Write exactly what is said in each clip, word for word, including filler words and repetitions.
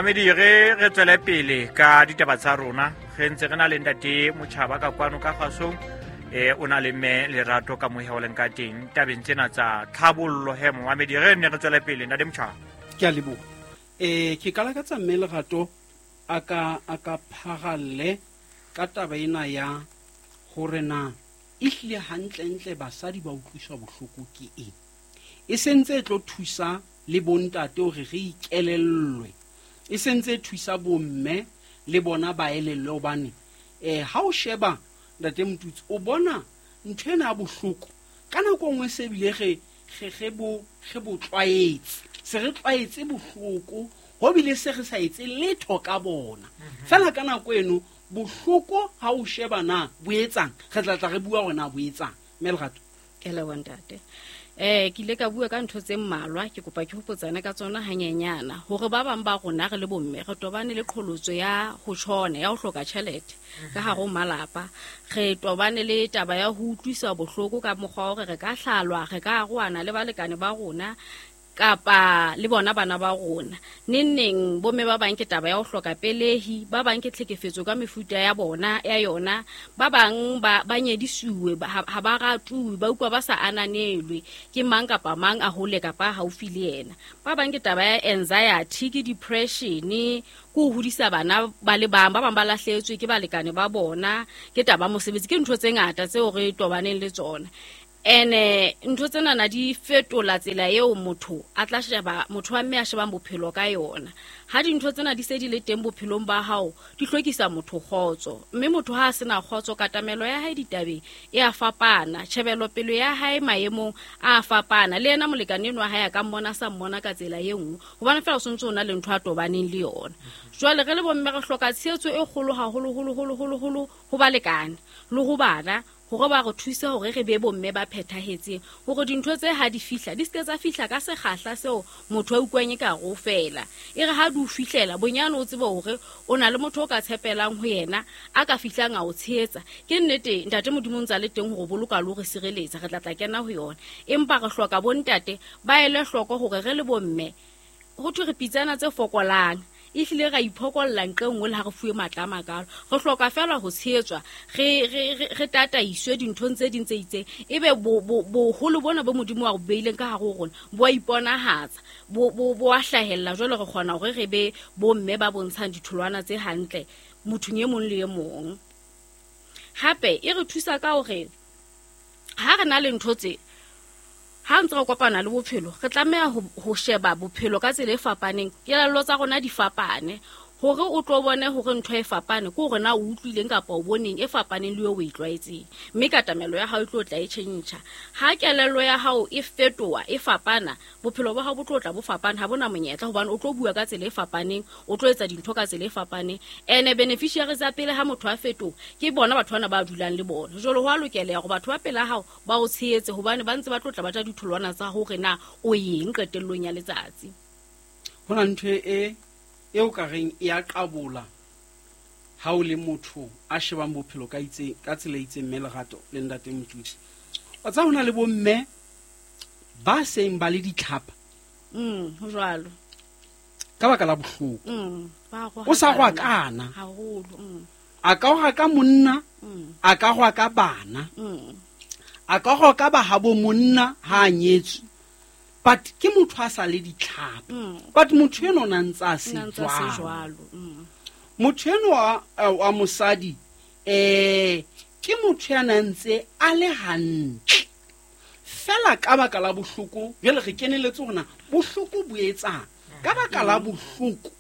Mamedi re re tswele pele ka ditaba tsa rona. Re ntse re na le ntate Motjhaba ka kwano ka kgasong. Eh o na le mme Lerato ka mohe o leng ka teng tabeng tsena tsa tlhabollo he momamedi re ne re tswele pele ntate Motjhaba. Ke a leboha. Eh ke kala ka tsa mme Lerato a ka a ka pharalle ka taba ena ya hore na ehlile hantlentle basadi ba utlwiswa bohloko ke eng. E sentse e tlo thusa le bontate hore re ikelellwe. E sentse e thusa bomme le bona ba elellwe hobane eh ha o sheba ntate Motutsi o bona ntho ena ya bohloko ka nako nngwe se bile re re re bo re bo tlwaetse se re tlwaetse bohloko ho bile se re sa etse letho ka bona fela ka nako eno bohloko ha o sheba na bo etsang re tla tla re bua hore na bo etsang mme Lerato. Ke leboha ntate. Eh ke ile ka bua ka ntho tse mmalwa ke kopa ke hopotsane ka tsona hanyenyana hore ba bang ba rona re le bomme re tobane le qholotso ya ho tshona ya ho hloka tjhelete ka hare ho malapa re tobane le taba ya ho utlwisa bohloko ka mokgwa hore re ka hlalwa re ka arohana le balekane ba rona kapa le bona bana ba rona neng neng bomme ba bang ke taba ya ho hloka pelehi ba bang ke tlhekefetso ka mefuta ya bona ya yona ba bang ba ba nyedisuwe ha ba ratuwe ba utlwa ba sa ananelwe ke mang kapa mang a hole kapa haufi le yena ba bang ke taba ya anxiety ke depression ke ho hodisa bana ba le bang ba bang ba lahletswe ke balekane ba bona ke taba mosebetsi ke ntho tse ngata tseo re tobaneng le tsona. Ene ntho tsena na di fetola tsela eo motho a tla sheba motho wa mme a shebang bophelo ka yona ha dintho tsena di se di le teng bophelong ba hao di hlokisa motho kgotso mme motho ha a sena kgotso katamelo ya hae ditabeng e a fapana tjhebelo pelo ya hae maemong a fapana le yena molekane enwa hae a ka mmona sa mmona ka tsela e nngwe hobane fela o sontse o na le ntho a tobaneng le yona. Jwale re le bomme re hloka tshehetso e kgolo haholo holo holo holo holo ho balekane le ho bana hore ba re thuse hore re be bomme ba phethahetseng hore dintho tse ha di fihla di se tsa fihla ka sekgahla seo motho a utlwang e ka re o fela e re ha di o fihlela bonyane o tsebe hore o na le motho o ka tshepelang ho yena a ka fihlang a o tshehetsa. Ke nnete ntate Modimo o ntse a le teng hore boloka le hore sireletsa re tla tla kena ho yona empa re hloka bontate ba ele hloko hore re le bomme ho thwe re pitsana tse fokolang ehlile ra iphokolla nqe nngwe le ha re fuwe matla a makalo re hloka fela ho tshehetswa re re re tataiswe dinthong tse ding tse itseng ebe boholo bona bo Modimo wa bo beileng ka hare ho rona bo a iponahatsa bo bo bo a hlahella jwale re kgona hore re be bomme ba bontshang ditholwana tse hantle mothong e mong le e mong. Hape e re thusa ka hore ha re na le ntho tse ha ntse re kopana le bophelo re tlameha ho sheba bophelo ka tsela e fapaneng kelello tsa rona di fapane hore o tlo bone hore ntho e fapane ke hore na o utlwileng kapa o boneng e fapaneng le eo o e tlwaetseng mme katamelo ya hao e tlo tla e tjhentjha ha kelello ya hao e fetoha e fapana bophelo ba hao bo tlo tla bo fapana ha bona monyetla hobane o tlo bua ka tsela e fapaneng o tlo etsa dintho ka tsela e fapaneng ene beneficiaries tsa pele ha motho a fetoha ke bona batho bana ba dulang le bona jwale ho a lokela hore batho ba pela hao ba o tshehetse hobane ba ntse ba tlo tla ba tla ditholwana tsa hore na o eng qetellong ya letsatsi. Ho na ntho e eo ka reng e a qabola ha o le motho a shebang bophelo ka itseng ka tsela e itseng mme Lerato le ntate Motutsi o tsa hona le bomme ba seng ba le ditlhapa mm ho jwalo ka baka la bohloko mm ba go o sa go akana haholo mm a ka go ka monna a ka go ka bana mm a ka go ka ba ha bo monna ha a nyetswe but ke motho a sa le ditlhapa but motho eno na ntse a se jwalo motho eno wa mosadi eh ke motho ya na ntse a le hantle fela ka baka la bohloko jwale re keneletse hona bohloko bo etsang ka baka la bohloko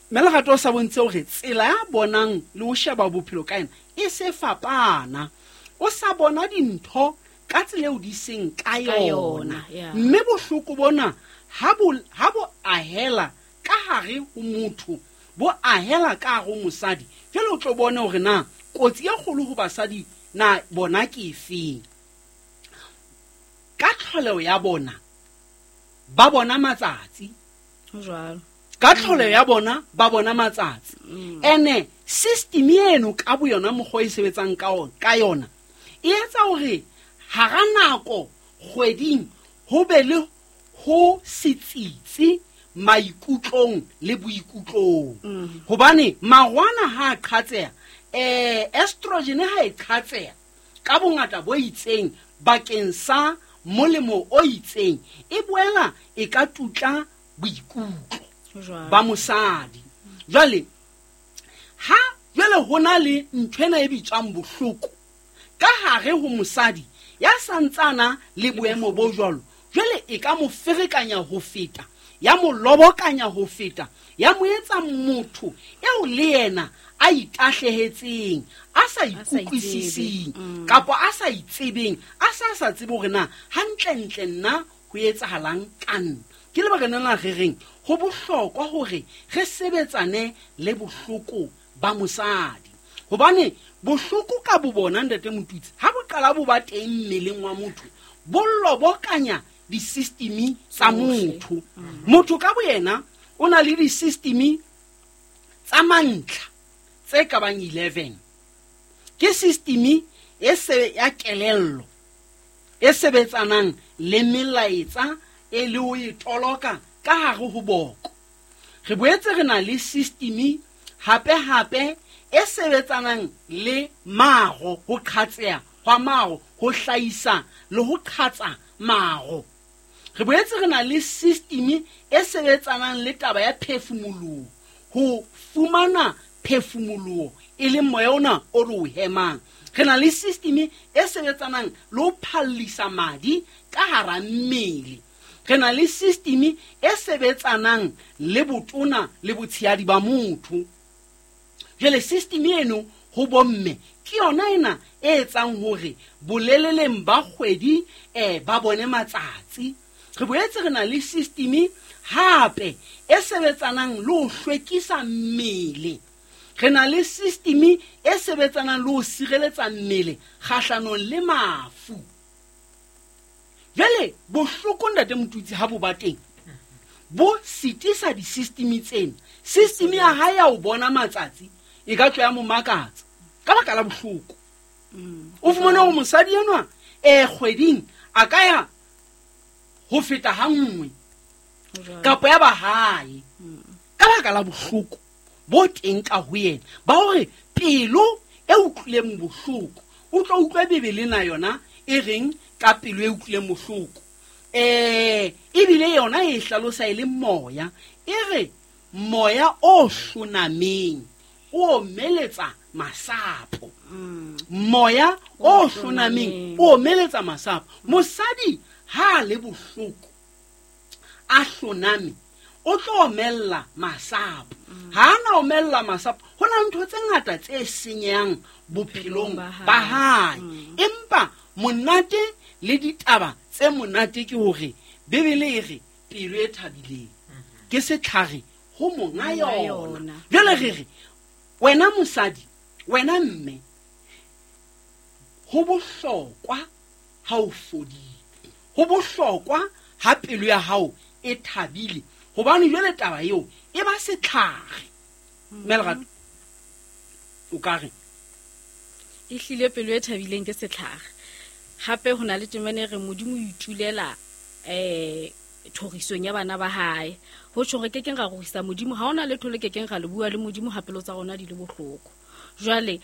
mme Lerato o sa bontshe hore tsela ya bonang le ho sheba bophelo ka yena e se fapana o sa bona dintho ka tsela eo di seng ka yona mme bohloko bona ha bo ha bo ahela ka hare ho motho bo ahela ka hare ho mosadi jwale o tlo bone hore na kotsi e kgolo ho basadi na bona ke efeng ka tlholeho ya bona ba bona matsatsi jwalo ka tlholeho ya bona ba bona matsatsi ene system eno ka bo yona mokgwa e sebetsang ka ona ka yona e etsa hore hara nako kgweding ho be le ho setsitsi maikutlong le boikutlong. Hobane marwana ha a qhatseha, eh estrogen ha e qhatseha ka bongata bo itseng bakeng sa molemo o itseng, e boela e ka tutla boikutlo ba mosadi. Jwale ha jwale hona le nthwena e bitswang bohloko ka hare ho mosadi ya santsana le boemo bo jwalo, jwale e ka mo ferekanya ho feta, ya mo lobokanya ho feta, ya mo etsa motho eo le yena a itahlehetseng, a sa ikutlwisising kapa a sa itsebeng, a sa sa tsebe hore na hantlentle nna ho etsahalang ka nna. Ke lebaka lena re reng ho bohlokwa hore re sebetsane le bohloko ba mosadi, hobane bohloko ka bo bona ntate Motutsi ha bo qala bo ba teng mmeleng wa motho, bo lobokanya di-system tsa motho. Motho ka boyena o na le di-system tsa mantlha tse ka bang eleven. Ke system e se ya kelello e sebetsanang le melaetsa e le ho e toloka ka hare ho boko. Re boetse re na le system hape hape e sebetsanang le maro, ho qhatseha hwa maro, ho hlahisa le ho qhatsa maro. Re boetse re na le system e sebetsanang le taba ya phefumoloho, ho fumana phefumoloho e leng moya ona o re o hemang. Re na le system e sebetsanang le ho phallisa madi ka hara mmele. Re na le system e sebetsanang le botona le botshehadi ba motho. Jwale system eno ho bomme ke yona ena e etsang hore boleleleng ba kgwedi eh ba bone matsatsi. Re boetse re na le system hape e sebetsanang le ho hlwekisa mmele. Re na le system e sebetsanang le ho sireletsa mmele kgahlanong le mafu. Jwale bohloko ntate Motutsi ha bo ba teng bo sitisa di-system tsena. System ya hae ya ho bona matsatsi e ka tswa ya mo makatsa ka baka la bohloko. O fumane hore mosadi enwa eh kgweding a ka ya ho feta ha nngwe kapa ya ba hae ka baka la bohloko bo teng ka ho yena, ba hore pelo e utlwileng bohloko. O tlo utlwa Bibele na yona e reng ka pelo e utlwileng bohloko, eh ebile yona e hlalosa e le moya, e re moya o hlonameng o omeletsa masapo. Moya o hlonameng o omeletsa masapo. Mosadi ha le bohloko a hloname o tlo omella masapo. Ha ana omella masapo, ho na ntho tse ngata tse senyang bophelong ba hae. Empa monate le ditaba tse monate ke hore Bibele e re pelo e thabileng ke setlhare ho monga yona. Jwale re re wena mosadi, wena mme, ho bohlokwa ha o fodile, ho bohlokwa ha pelo ya hao e thabile, hobane jwale taba eo e ba setlhare. Mme Lerato, o ka re e hlile pelo e thabileng ke setlhare. Hape ho na le temana e re Modimo o itulela eh thorisong ya bana ba hae. Ho tjho re kekeng ra rorisa Modimo, ha hona letho le kekeng ra le bua le Modimo ha pelo tsa rona di le bohloko. Jwale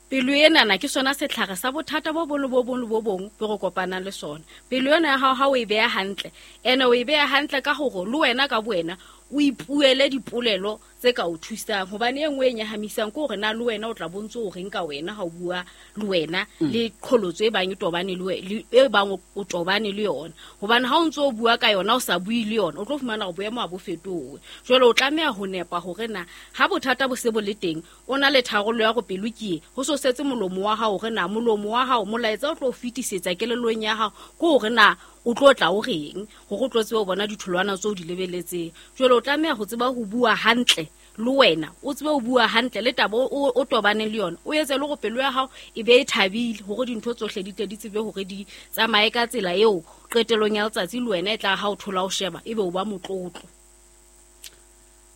pelo enana ke sona setlhare sa bothata bo bong le bo bong le bo bong bo re kopanang le sona. Pelo ena ya hao ha o e beha hantle, ene o e beha hantle ka hore le wena ka bowena o ipuele dipolelo tse ka o thusang, hobane e nngwe e nyahamisang ke hore na le wena o tla bontse o reng ka wena ha o bua le wena le qholotso e bang e tobane le wena, e bang o tobane le yona. Hobane ha o ntso o bua ka yona o sa bue le yona, o tlo fumana hore boemo ha bo fetohe. Jwale o tlameha ho nepa hore na ha bothata bo se bo le teng, o na le tharollo ya hore pelo ke e, ho so setse molomo wa hao hore na molomo wa hao molaetsa o tlo fetisetsa kelellong ya hao ke hore na o tlo tla o reng hore o tlo tsebe ho bona ditholwana tseo di lebeletseng. Jwale o tlameha ho tseba ho bua hantle le wena, o tsebe ho bua hantle le taba o tobaneng le yona, o etse le hore pelo ya hao e be e thabile hore dintho tsohle di tle di tsebe hore di tsamaye ka tsela eo qetelong ya letsatsi le wena e tla ha o thola o sheba ebe o ba motlotlo.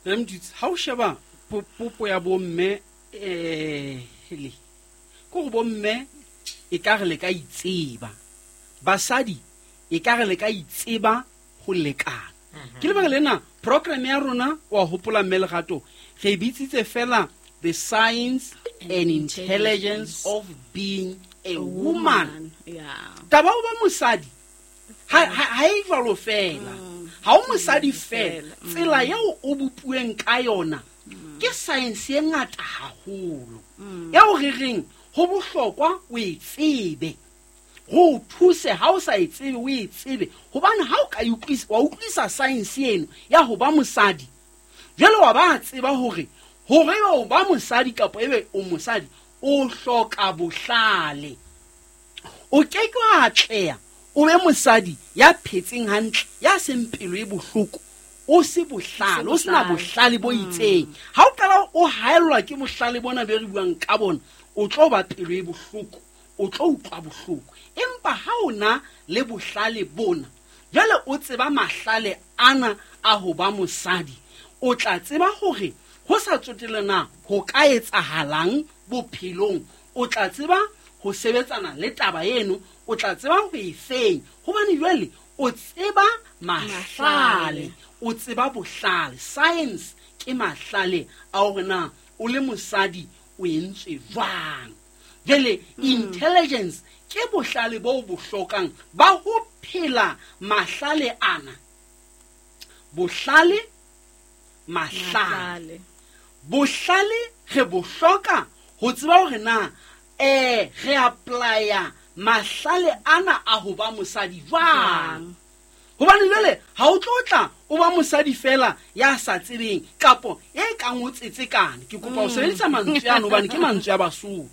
Mdutsi, ha o sheba popo ya bomme eh le ke hore bomme e ka re le ka itseba, basadi e ka re le ka itseba ho lekana. Ke lebaka lena program ya rona wa hopola mme Lerato re bitsitse fela the science and, and intelligence of being a, a woman. Yeah. Taba o ba mosadi ha ha e jwalo fela. Ha o mosadi fela, tsela eo o bopuweng ka yona ke science e ngata haholo. Eo re reng ho bohlokwa o e tsebe. Go thuse ha o sa e tsebe o e tsebe hobane ha o ka utlwisa wa utlwisa science eno ya ho ba mosadi. Jwale wa ba tseba hore hore o ba mosadi kapa ebe o mosadi o hloka bohlale. O ke ke wa atleha o be mosadi ya phetseng hantle ya seng pelo e bohloko o se bohlale o sena bohlale bo itseng. Ha o qala o haellwa ke bohlale bona be re buang ka bona o tlo ba pelo e bohloko o tlo utlwa bohloko. Empa ha o na le bohlale bona jwale o tseba mahlale ana a ho ba mosadi o tla tseba hore ho sa tsotelle na ho ka etsahalang bophelong o tla tseba ho sebetsana le taba eno o tla tseba ho e fenya hobane jwale o tseba mahlale o tseba bohlale. Science ke mahlale a hore na o le mosadi o entswe jwang. Jwale intelligence ke bohlale bo bo hlokang ba ho phela mahlale ana. Bohlale mahlale bohlale re bo hloka ho tseba hore na eh re applya mahlale ana a ho ba mosadi jwang. Hobane jwale ha o tlo tla o ba mosadi fela ya sa tsebeng kapo e kang o tsetsekane. Ke kopa o sebedisa mantswe ano hobane ke mantswe a Basotho.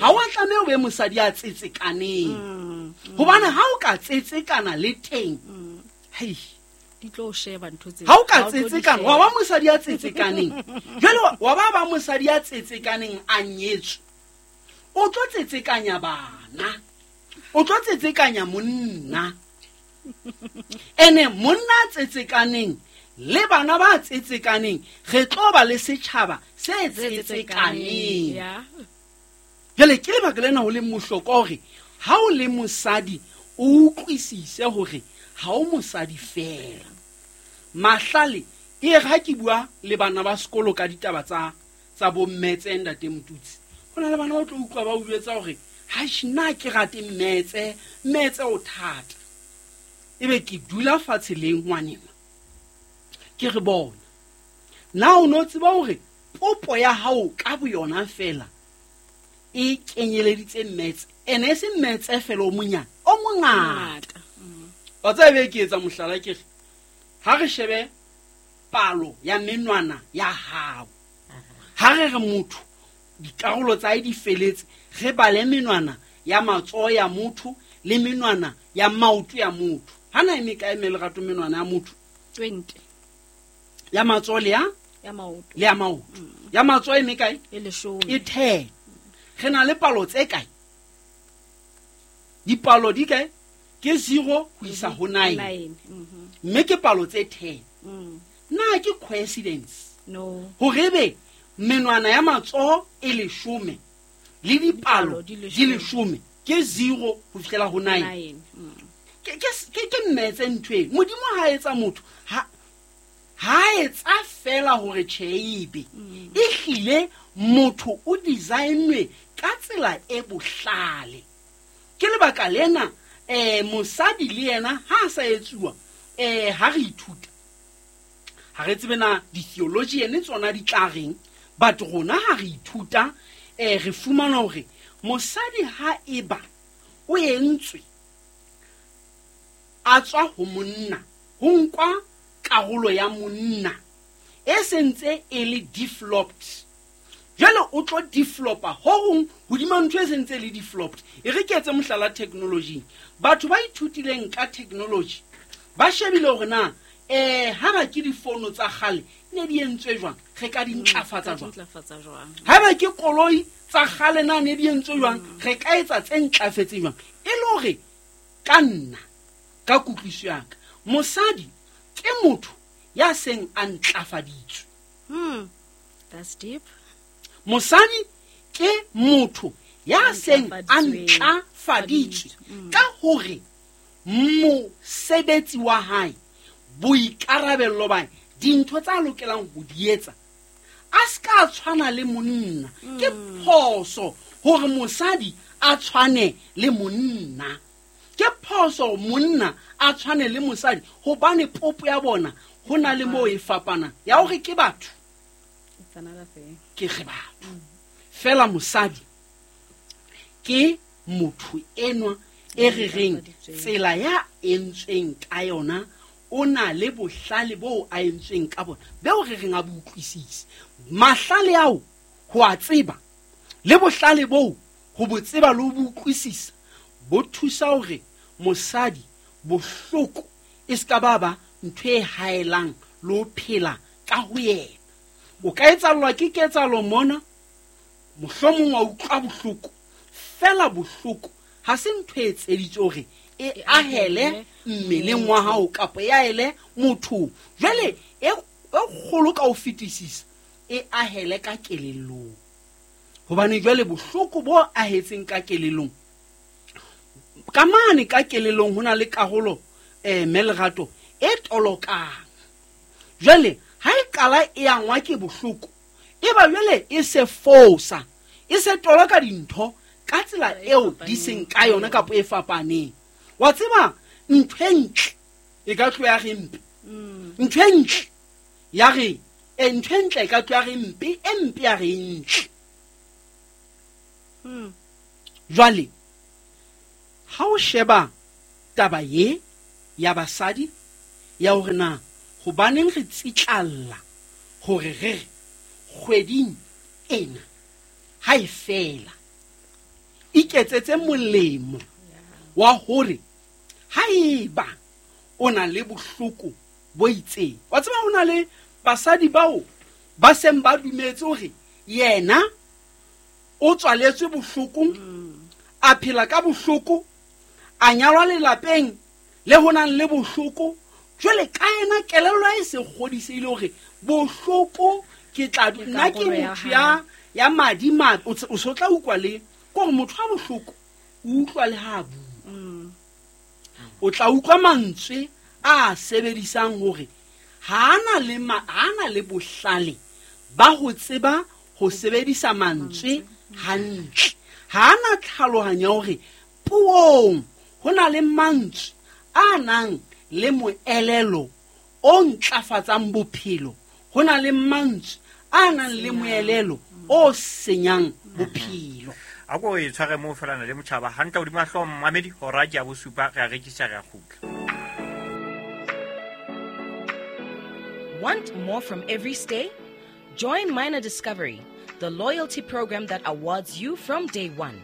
Ha o tlameha o be mosadi ya tsetsekaneng hobane ha o ka tsetsekana le teng hei di tlo sheba ntho tse ha o ka tsetsekana wa ba mosadi ya tsetsekaneng jwale wa ba ba mosadi ya tsetsekaneng a nyetswe o tlo tsetsekanya bana o tlo tsetsekanya monna ene monna tsetsekaneng le bana ba tsetsekaneng re tlo ba le setjhaba se tsetsekaneng. Jwale ke lebaka lena ho le mohlokwa hore ha o le mosadi o utlwisise hore ha o mosadi fela. Mahlale e re ha ke bua le bana ba sekolo ka ditaba tsa tsa bo mmetse ntate Motutsi ho na le bana ba tlo utlwa ba o jwetsa hore ha nna ke rate mmetse mmetse o thata. Ebe ke dula fatshe le ngwanena ke re bona na o no tseba hore popo ya hao ka boyona fela e kenyeleditse mmetse ene e se mmetse fela o monyane o mongata. Wa tseba be ke etsa mohlala ke re ha re shebe palo ya menwana ya hao ha re re motho dikarolo tsa hae di feletse re bale menwana ya matsoho ya motho le menwana ya maoto ya motho. Hana e mekae mme Lerato menwana ya motho? twenty Ya matsoho le ya ya maoto le ya maoto. Ya matsoho e mekae? E leshome. E ten. Re na le palo tse kae? Dipalo di kae? Ke zero ho isa ho nine. Mme ke palo tse ten. Na ke coincidence? No. Hore ebe menwana ya matsoho e leshome le dipalo di leshome ke zero ho fihlela ho nine. Ke ke ke mmetse ntho e Modimo ha etsa motho ha ha etsa fela hore tjhe ebe e hlile motho o designwe ka tsela e bohlale. Ke lebaka lena eh mosadi le yena ha sa etsuwa eh ha re ithuta ha re tsebe na di-theology ene tsona di tla reng but rona ha re ithuta eh re fumana hore mosadi ha eba o entswe a tswa ho monna ho nkwa karolo ya monna e sentse e le developed. Jwale o tlo developa ho hong hodima ntho e sentse le developed. E re ke etse mohlala technology. Batho ba ithutileng ka technology ba shebile hore na eh ha ba ke difono tsa kgale ne di entswe jwang re ka di ntlafatsa jwang. Ha ba ke koloi tsa kgale na ne di entswe jwang re ka etsa tse ntlafetseng jwang. E le hore ka nna ka kutlwiso ya ka mosadi ke motho ya seng a ntlafaditswe. Hmm. That's deep. Mosadi ke motho ya seng a ntlafaditswe ka hore mosebetsi wa hae Boikarabello ba dintho tsa lokelang ho di etsa a ska tshwana le monna. Ke phoso hore mosadi a tshwane le monna, ke phoso monna a tshwane le mosadi, hobane popo ya bona ho na le moo e fapana ya hore ke batho, ke re batho. Fela mosadi ke motho enwa e re reng tsela ya entsweng ka yona, o na le bohlale bo a entsweng ka bona beo re reng a bo utlwisise. Mahlale ao ho a tseba le bohlale bo ho bo tseba le ho bo utlwisisa bo thusa hore mosadi bohloko e ska ba ba ntho e haelang le ho phela ka ho yena. O ka etsallwa ke ketsalo mona, mohlomong wa utlwa bohloko, fela bohloko ha se ntho e etseditswe hore e ahele mmeleng wa hao kapa e ahele mothong. Jwale e kgolo ka ho fetisisa e ahele ka kelellong, hobane jwale bohloko bo ahetseng ka kelellong, ka mane ka kelellong ho na le karolo eh Melerato e tolokang. Jwale ha e qala e angwa ke bohloko, e ba jwale e se fosa, e se toloka dintho ka tsela eo di seng ka yona kapa e fapaneng. Wa tseba ntho e ntle e ka tloha re mpe, ntho e ntle ya re e ntho e ntle e ka tloha re mpe, e mpe ya re ntle. Jwale ha o sheba taba ye ya basadi ya hore na hobaneng re tsitlalla hore re re kgweding ena ha e fela iketsetse molemo wa hore haeba o na le bohloko bo itseng. Wa tseba ho na le basadi bao ba seng ba dumetse hore yena o tswaletswe bohlokong, a phela ka bohloko, a nyalwa lelapeng le ho nang le bohloko. Jwale ka yena kelello e se kgodisehile hore bohloko ke tla nna ke motho ya ya madi madi. O so tla utlwa le kore motho wa bohloko o utlwa le ha bua, o tla utlwa mantswe a sebedisang hore ha ana le ha ana le bohlale ba ho tseba ho sebedisa mantswe hantle, ha ana tlhalohanyo hore puong ho na le mantswe a nang le moelelo o ntlafatsang bophelo, ho na le mantswe a nang le moelelo o senyang bophelo. A ko e tshware moo fela na le motjhaba hantle hodima hlooho mmamedi hora ke ya bosupa re a rekisa re a kgutla. Want more from every stay? Join Minor Discovery, the loyalty program that awards you from day one.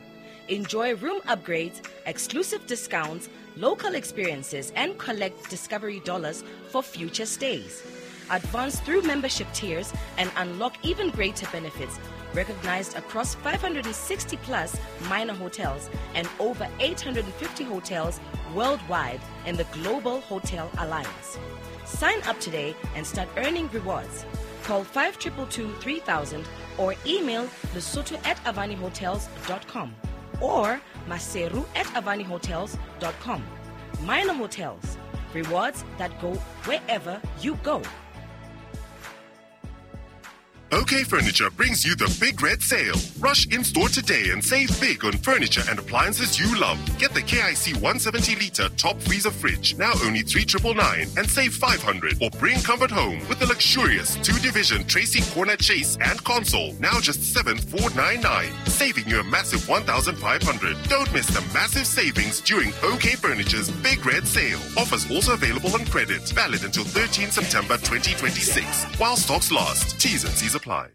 Enjoy room upgrades, exclusive discounts, local experiences, and collect Discovery dollars for future stays. Advance through membership tiers and unlock even greater benefits, recognized across five hundred sixty plus minor hotels and over eight hundred fifty hotels worldwide in the Global Hotel Alliance. Sign up today and start earning rewards. Call five two two two three thousand or email lesotho at avani hotels dot com or maseru at avani hotels dot com. Minor Hotels, rewards that go wherever you go. OK Furniture brings you the Big Red Sale. Rush in-store today and save big on furniture and appliances you love. Get the K I C one seventy litre top freezer fridge, now only three triple nine, and save five hundred. Or bring comfort home with the luxurious two-division Tracy Corner Chase and console, now just seven four nine nine, saving you a massive one thousand five hundred. Don't miss the massive savings during OK Furniture's Big Red Sale. Offers also available on credit. Valid until thirteenth September twenty twenty-six. While stocks last. T's and C's apply.